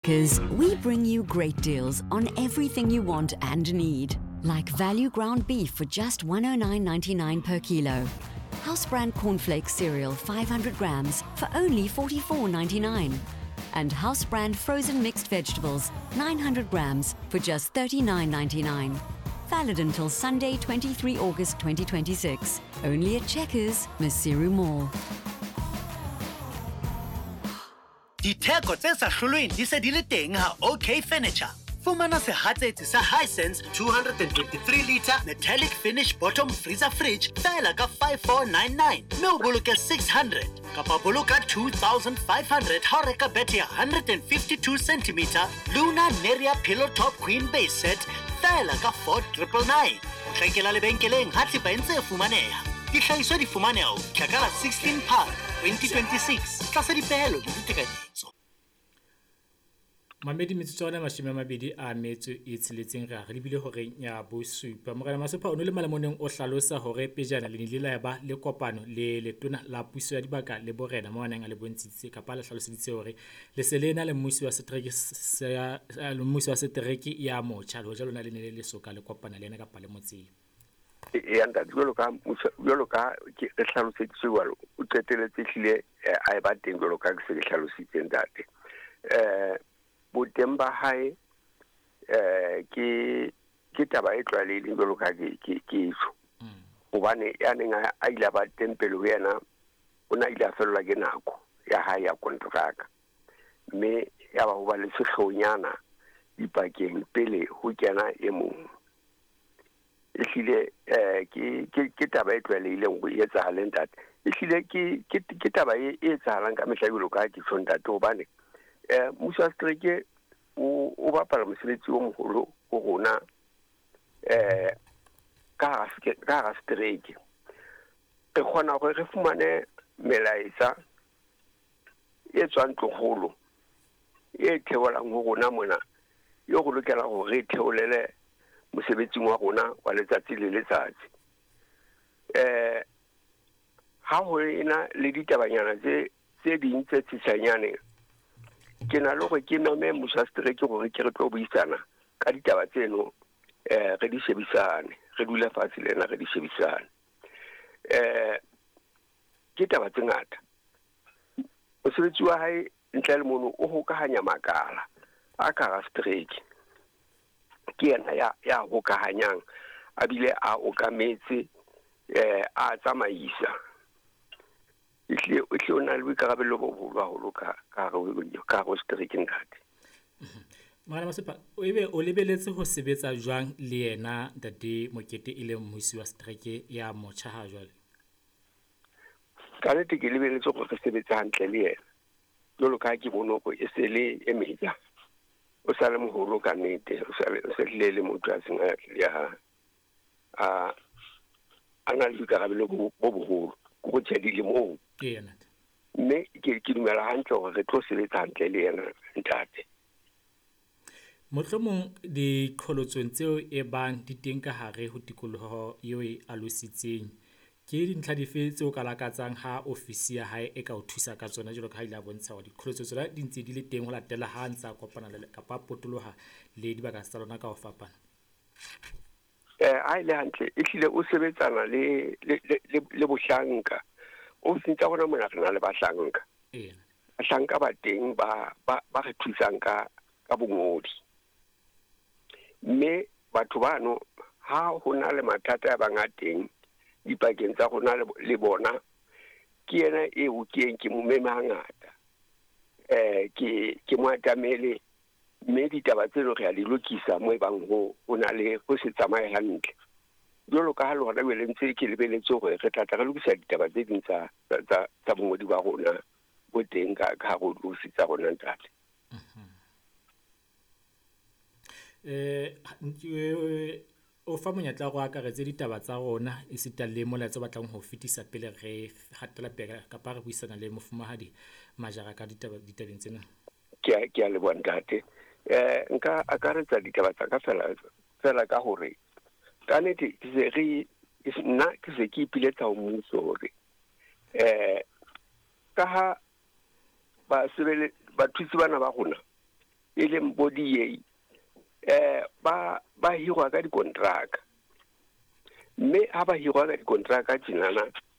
Because we bring you great deals on everything you want and need. Like value ground beef for just 109.99 per kilo. House brand cornflakes cereal 500 grams for only 44.99. And house brand frozen mixed vegetables 900 grams for just 39.99. Valid until Sunday, 23 August 2026. Only at Checkers, Maseru Mall. Ditheko tse sa hlolweng di se di le teng ha OK Furniture. Fumana sehatsetsi sa Hisense 223 litre metallic finish bottom freezer fridge feela ka 5499 mme o boloke 600 kapa boloka 2500 ha o reka bethe ya 152 cm Luna Neria Pillow Top Queen Base Set feela ka 4999. Potlakela lebenkeleng ha thepa e ntse e fumaneha. Dihlahiswa di fumaneha ho fihla ka la 16 Phato 2026 tlasa dipehelo le ditekanyetso. Mamedi metsotso 26 re a re lebile horeng ya bosupa. Morena Masopha o ne le malemoneng o hlalosa hore pejana le nile la ba le kopano le letona la puso ya dibaka le borena mo a neng a le bontshitse kapa a le hlaloseditse hore le se le ena le mmusi wa setereke sa mmusi wa setereke ya motjha le hoja lona le ne le le soka le kopana le yena kapa le motseng. Eya ntate, jwalo ka jwalo ka ke re hlaloseditswe jwalo, o qeteletse ehlile a e ba teng jwalo ka ke se ke hlalositse ntate. Boteng ba hae ke ke taba e tlwaelehileng jwalo ka ke ke ke tjho. Hobane ya neng a ile a ba teng pele ho yena, o ne a ile a fellwa ke nako ya hae ya kontraka. Mme ya ba ho ba le sehlohonyana dipakeng pele ho kena e mong. Ehlile ke ke ke taba e tlwaelehileng hore e etsahale ntate. Ehlile ke ke ke taba e etsahalang ka mehla jwalo ka ha ke tjho ntate hobane mmuso wa setereke o o bapala mosebetsi o moholo ho rona ka hara ka hara setereke. Re kgona hore re fumane melaetsa e tswang ntlokgolo e theolang ho rona mona eo re lokelang hore re theolele mosebetsing wa rona wa letsatsi le letsatsi. Ha ho ena le ditabanyana tse tse ding tse tshishanyane, ke na le hore ke meme mmuso wa setereke hore ke re tlo buisana ka ditaba tseno, re di shebisane, re dule fatshe le ena re di shebisane. Ke taba tse ngata. Mosebetsi wa hae ntle le mono o hokahanya makala a ka hara setereke. Ke yena ya ya hokahanyang a bile a okametse a tsamaisa. Ehlile ehlile o na le boikarabelo bo boholo haholo ka ka hare ka hare ho setereke ntate. Morena Masopha, ebe o lebeletse ho sebetsa jwang le yena ntate Mokete e leng mmusi wa setereke ya motjha ha jwale? Ka nnete ke lebeletse hore re sebetse hantle le yena. Jwalo ka ha ke bone hore e se le e meja. O sa le moholo ka nnete, o sa le o se hlile le motho a seng a ya a a na le boikarabelo bo bo boholo. Ke ho tjhe dilemong. Eya ntate. Mme ke ke dumela hantle hore re tlo sebetsa hantle le yena ntate. Mohlomong diqholotsong tseo e bang di teng ka hare ho tikoloho eo e alositseng, ke dintlha dife tseo ka lakatsang ha ofisi ya hae e ka o thusa ka tsona jwalo ka ha ile a bontsha hore diqholotso tsona di ntse di le teng ho latela ha a ntse a kopana le kapa a potoloha le dibaka tsa lona ka ho fapana? Ha e le hantle ehlile o sebetsana le le le le bohlanka. Ofising tsa rona mona re na le bahlanka. Eya. Bahlanka ba teng ba ba ba re thusang ka ka bongodi. Mme batho bano ha ho na le mathata a bang a teng dipakeng tsa rona le bona, ke yena eo ke yeng ke mo meme hangata. Ke ke mo atamele mme ditaba tseno re a di lokisa mo ebang ho ho na le ho se tsamaye hantle. Jwalo ka ha le hona jwale ntse ke lebeletse hore re tla tla re lokisa ditaba tse ding tsa tsa tsa bongodi ba rona bo teng ka ka hare ho diofisi tsa rona ntate. O fa monyetla wa hore o akaretse ditaba tsa rona esita le molaetsa o batlang ho fetisa pele re hatela pele kapa re buisana le mofumahadi Majara ka ditaba ditabeng tsena. Ke a ke a leboha ntate. Nka akaretsa ditaba tsa ka fela fela ka hore ka nnete ke se re nna ke se ke ipiletsa ho mmuso hore ka ha ba sebele bathusi bana ba rona E leng bo DA, ba hirwa ka dikontraka, mme ha ba hirwa ka dikontraka tjenana.